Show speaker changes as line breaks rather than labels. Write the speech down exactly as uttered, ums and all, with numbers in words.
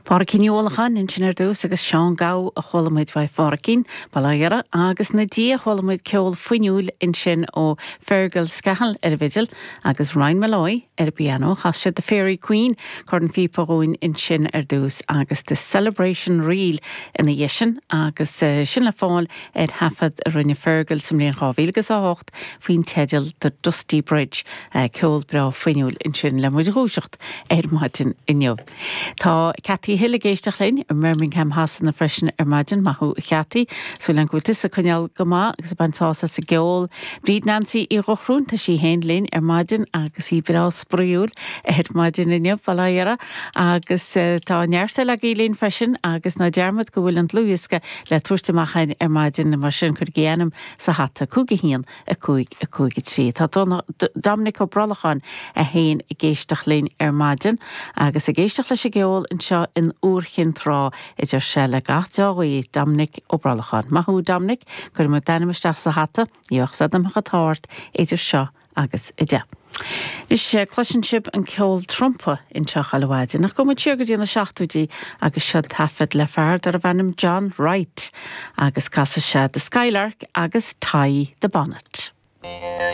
Pádhraic Ní Uallacháin ansin ar dtús agus Seán Gabh a chuala muid uaidh Phádraicín Baláire agus ina dhiaidh chuala muid ceol fuinniúil ansin ó Fergal Scahill ar an bhfidil agus Ryan Molloy ar an bpianó chas sé The Fairy Queen cornphíopa dhúinn ansin ar dtús agus The Celebration Reel ina dhiaidh sin agus eh, sin le fáil ar thaifead a rinne Fergal sa mbliain dhá mhíle agus a hocht faoin teideal The Dusty Bridge eh, ceol breá fuinniúil ansin le muid a dhúiseacht ar maidin inniu. Tá Cathy Hill ag éisteacht linn i mBirmingham Shasana freisin ar maidin maith thú Cathy, Súil agam go bhfuil tusa ag coinneáil go maith agus ag baint sásamh as an gceol. Bríd Nancy Uí Dhochróin tá sí féin linn ar maidin agus í breá spraíúil ar maidin inniu baláire agus uh, tá neart eile agaibh linn freisin agus ná dearmad go bhfuil an dlúthdhiosca le tabhairt amach ar maidin mar sin cuirigí ainm sa hata cúig a haon a cúig a cúig a trí. Tá Dominic Ó Brolacháin é féin ag éisteacht linn ar maidin agus ag éisteacht leis an gceol anseo in Iúr Chinn Trá idir se le gach deáhaí Dominic Ó Brolacháin. Maith thú Dominic cuir mu d'ainm isteach sa hata, íoch amach atá idir seo agus a deich. Is cloiseann sibh an ceol trumpa anseo alhaide, nach go siar go dtí na seachtóidí agus seo taifead le fear darbh ainm John Wright agus casfaidh sé The Skylark agus Tie the Bonnet.